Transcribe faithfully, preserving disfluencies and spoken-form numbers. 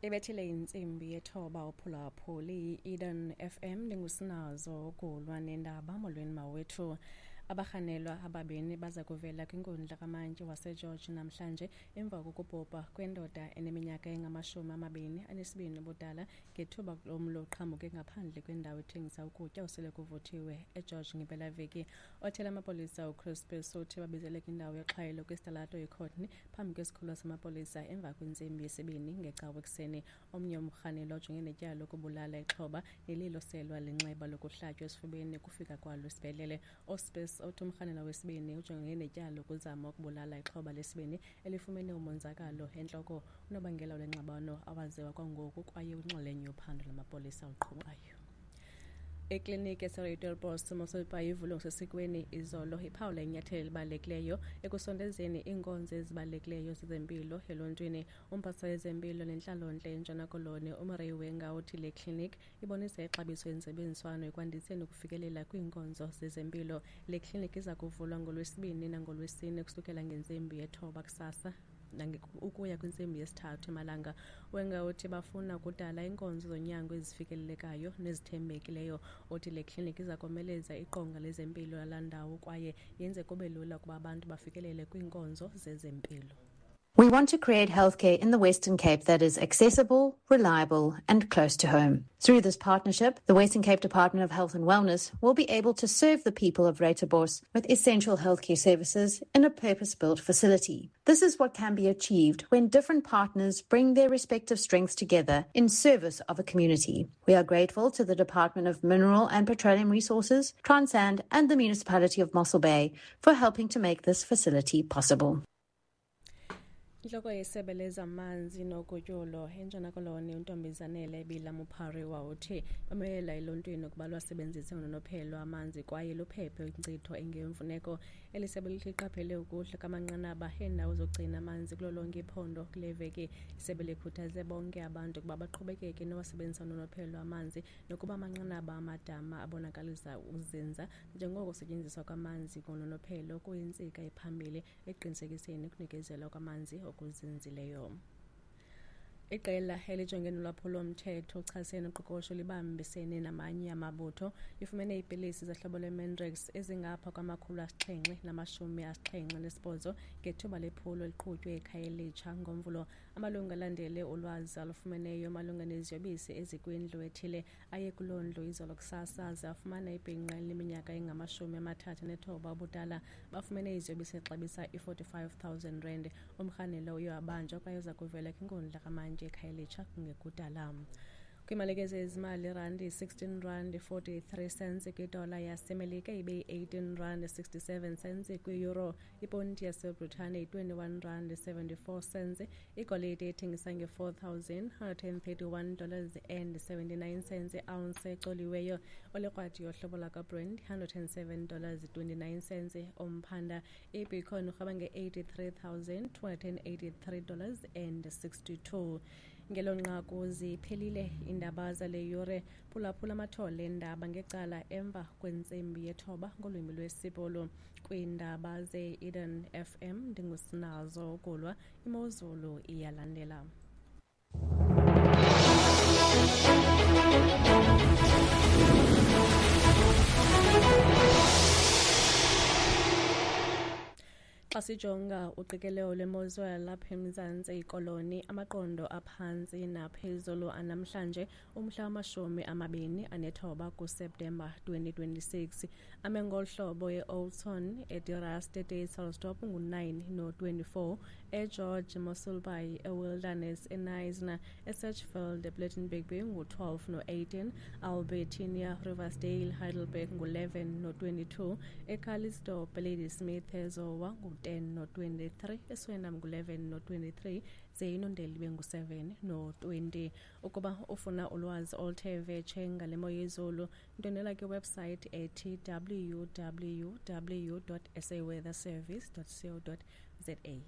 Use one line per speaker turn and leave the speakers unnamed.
Ibethile intsimbi yethoba uphulaphuli i-Eden F M ndingusinazo ukulwa nendaba. Molweni mawethu. Abarhanelwa ababini baza kuvela kwinkundla kamantyi waseGeorge namhlanje emva kokubhubha kwendoda eneminyaka engamashumi amabini anesibini ubudala ngethuba lomlo uqhamuke ngaphandle kwendawo ethengisa ukutya osele kuvuthiwe eGeorge ngempelaveki. Othela amapolisa uCrispus uthi babizele kwindawo yoxhayelo kwisitalato iCourtney phambi kwesikhululo samapolisa emva kwentsimbi yesibini ngecawe ekuseni. Omnye umrhanelwa ojongene netyala lokubulala ixhoba nelilo selwa linxeba lokuhlatywa esifubeni kufika kwalo esibhedlele. Ospis uthi umrhanelwa wesibini ujongene netyala lokuzama ukubulala ixhoba lesibini elifumene umonzakalo entloko. Unobangela wale ngxabano awaziwa kwangoku kwaye unxalenye yophando lwamapolisa oluqhubayo. Ekliniki yaseRuiterbos Mossel Bay ivulwe ngokusesikweni izolo iphawula inyathelo elibalulekileyo ekusondezeni iinkonzo ezibalulekileyo zezempilo eluntwini. Umphathiswa wezempilo nentlalontle eNtshona Koloni uMurray Wenga uthi le kliniki ibonisa ixabiso yentsebenziswano ekwandiseni ukufikelela kwiinkonzo zezempilo. Le kliniki iza kuvulwa ngoLwesibini nangoLwesine kusukela ngentsimbi yethoba kusasa ukuya kwintsimbi yesithathu emalanga. Wenga uthi bafuna ukudala iinkonzo zonyango ezifikelelekayo nezithembekileyo. Uthi le kliniki iza komeleza iqonga lezempilo lalaa ndawo kwaye yenze kube lula ukuba abantu bafikelele kwiinkonzo zezempilo.
We want to create healthcare in the Western Cape that is accessible, reliable and close to home. Through this partnership, the Western Cape Department of Health and Wellness will be able to serve the people of Ruiterbos with essential healthcare services in a purpose-built facility. This is what can be achieved when different partners bring their respective strengths together in service of a community. We are grateful to the Department of Mineral and Petroleum Resources, Transand and the Municipality of Mossel Bay for helping to make this facility possible.
Intloko yesebe lezamanzi nogutyulo eNtshona Koloni uNtombizanele Bila Mupariwa uthi bamelela eluntwini ukuba lwasebenzise ngononophelo amanzi kwaye luphephe inkcitho engemfuneko. Eli sebe lithi liqaphele ukuhla kwamanqanaba eendawo zokugcina amanzi kulo lonke iphondo kule veki. Isebe likhuthaze bonke abantu ukuba baqhubekeke nowasebenzisa ngononophelo amanzi nokuba amanqanaba amadama abonakalisa uzinza njengoko kusetyenziswa kwamanzi ngononophelo kuyintsika ephambili ekuqinisekiseni ukunikezelwa kwamanzi okuzinzileyo. Iqela elijongene nolwaphulo-mthetho uchasene noqoqosho libambisene namanye amabutho lifumene iipilisi zohlobo lweMandrax ezingapha kwamakhulu asixhenxe namashumi asixhenxe nesibhozo ngethuba lephulo eliqhutywe eKhayelitsha ngoMvulo. Amalungu alandele ulwazi alufumeneyo malunga neziyobisi ezikwindlu ethile aye kuloo ndlu izolo kusasa aze afumana ibhinqa elineminyaka engamashumi amathathu nethoba ubudala. Bafumene iziyobisi exabisa i-forty-five thousand rand. Umrhanelwa uye wabanjwa kwaye uza kuvela kwinkundla kamantyi eKhayelitsha kungekudala. Kwimalike zezimali, irandi sixteen rand forty-three cents kwidola yaseMelika ibe yi-eighteen rand sixty-seven cents kwi-euro. Iponti yaseBritane yi-twenty-one rand seventy-four cents. Igolide ethengisa nge-four thousand hundred and thirty-one dollars and seventy-nine cents i-ounce ecoliweyo. Olekrwadi yohlobo lwakwaBrent hundred and seven dollars twenty-nine cents umphanda. IBitcoin urhweba nge-eighty-three thousand two hundred and eighty-three dollars and sixty-two. Ngelo nqaku ziphelile iindaba zale yure. Phulaphula amathole eendaba ngecala emva kwentsimbi yethoba ngolwimi lwesiBhulu. Kwiindaba ze-Eden F M ndingusinazo ukulwa. Imozulu iyalandela. Xa sijonga uqikelelo lwemozulu lapha eMzantsi Koloni, amaqondo aphantsi naphezulu anamhlanje umhla wamashumi amabini anethoba kuSeptemba twenty twenty-six. Ame ngolu hlobo e-Oudtshoorn, eDe-Rust, eDysselsdorp ngu-nine no-twenty-four, eGeorge Mossel Bay, eWilderness, eKnysna, eSedgefield, ePlettenberg Bay ngu-twelve no-eighteen, Albertinia, Riversdale, Heidelberg ngu-eleven no-twenty-two, eCalitzdorp, Ladysmith, eZowa ngu-ten no-twenty-three, eSwellnum ngu-eleven no-twenty-three, ze iNondeli ibe ngu-seven no-twenty. Ukuba ufuna ulwazi oluthe vetshe ngale mo yezulu, ndwendwela kwiwebsite ethi w w w dot s a weather service dot co dot z a.